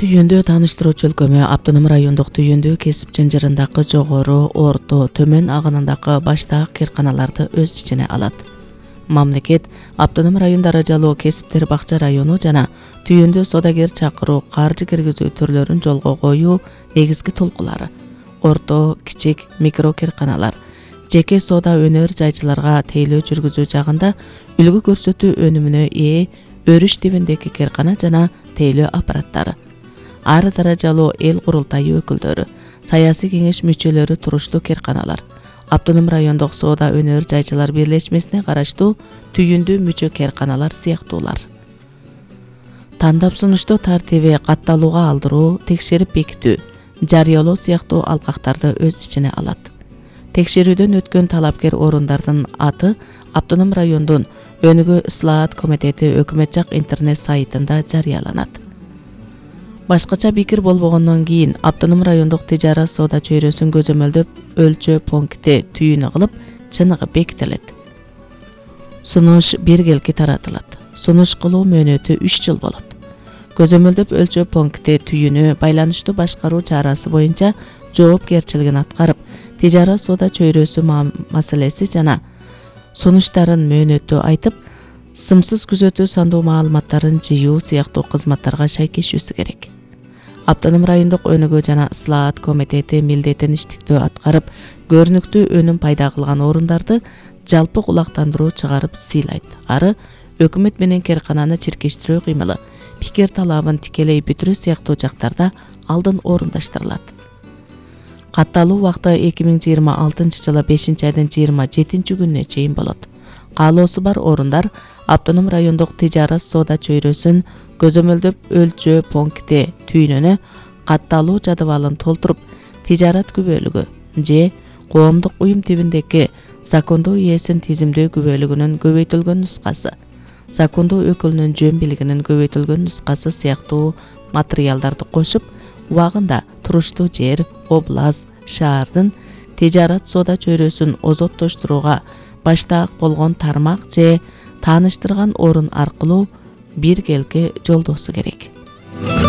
Түйүндүү тааныштыруучу өлкөмө Автоном райондук түйүндүү кесип жанжырындагы жогору, орто, төмөн агынындагы баштагы кыйрканаларды өз ичине алат. Мамлекет Автоном район даражалуу кесиптер бакча району жана түйүндүү соодагер чакыруу, каржы киргизүү түрлөрүн жолго коюу негизги толкулары. Орто, кичик, микро кыйрканалар жеке соода өнөр жайчыларга тейлөө жүргүзүү жагында үлгү көрсөтүү өнүмүнө ээ өрүш тибиндеги кыйркана жана тейлөө аппараттары. Ар даражалуу эл курултайы өкүлдөрү, саясий кеңеш мүчөлөрү туруштуу кыйрканалар, Автоном райондук соода өнөр жайчылар бирлешмесине караштуу түйүндүү мүчө кыйрканалар сыяктуулар. Тандап сунуштоо тартиби катталууга алдыруу, текшерип бекитүү, жарыялоо сыяктуу алкактарды өз ичине алат. Текшерүүдөн өткөн талапкер орундардын аты Автоном райондун Өнүгүү ыслаат комитети өкмөт жак интернет сайтында жарыяланат. Башкача пикир болбогондон кийин Автоном райондук тижара соода чөйрөсүн көзөмөлдөп өлчөө пункти түйүнү кылып чыныгы бекитилет. Сунуш биргелки таратылат. Сунуш кылуу мөөнөтү 3 жыл болот. Көзөмөлдөп өлчөө пункти түйүнү байланыштуу башкаруу чарасы боюнча жоопкерчилигин аткарып, тижара соода чөйрөсү маселеси жана сунуштарын мөөнөттү айтып, сымсыз күзөтүү сандуу маалыматтарын жыйуу сыяктуу кызматтарга шайкешүүсү керек. Автоном райондук өнүгүү жана ыслаат комитети милдетин иштиктөө аткарып, көрүнүктүү өнүм пайда кылган орундарды жалпы кулактандыруу чыгарып сыйлайт. Ары өкмөт менен кыйркананы чиркештирүү кыймылы, пикир талабын тикелей бүтүрүү сыяктуу жактарда алдын орундаштырылат. Катталуу убакыты 2026 жылы 5-айдын 27 күнүнө чейин болот. Каалоосу бар орундар Автоном райондук тижара соода чөйрөсүн көзөмөлдөп өлчөө пункти түйүнүнө катталуу жадыбалын толтуруп, тижарат күбөлүгү же коомдук уюм тибиндеги закондуу ээсин тизимдөө күбөлүгүнүн көбөйтүлгөн нускасы, закондуу өкүлүнүн жөн билигинин көбөйтүлгөн нускасы сыяктуу материалдарды кошуп, убагында туруштуу жер, област, шаардын тижарат соода чөйрөсүн озоттоштурууга баштаак болгон тармак же тааныштырган орун аркылуу биргелки жолдоосу керек.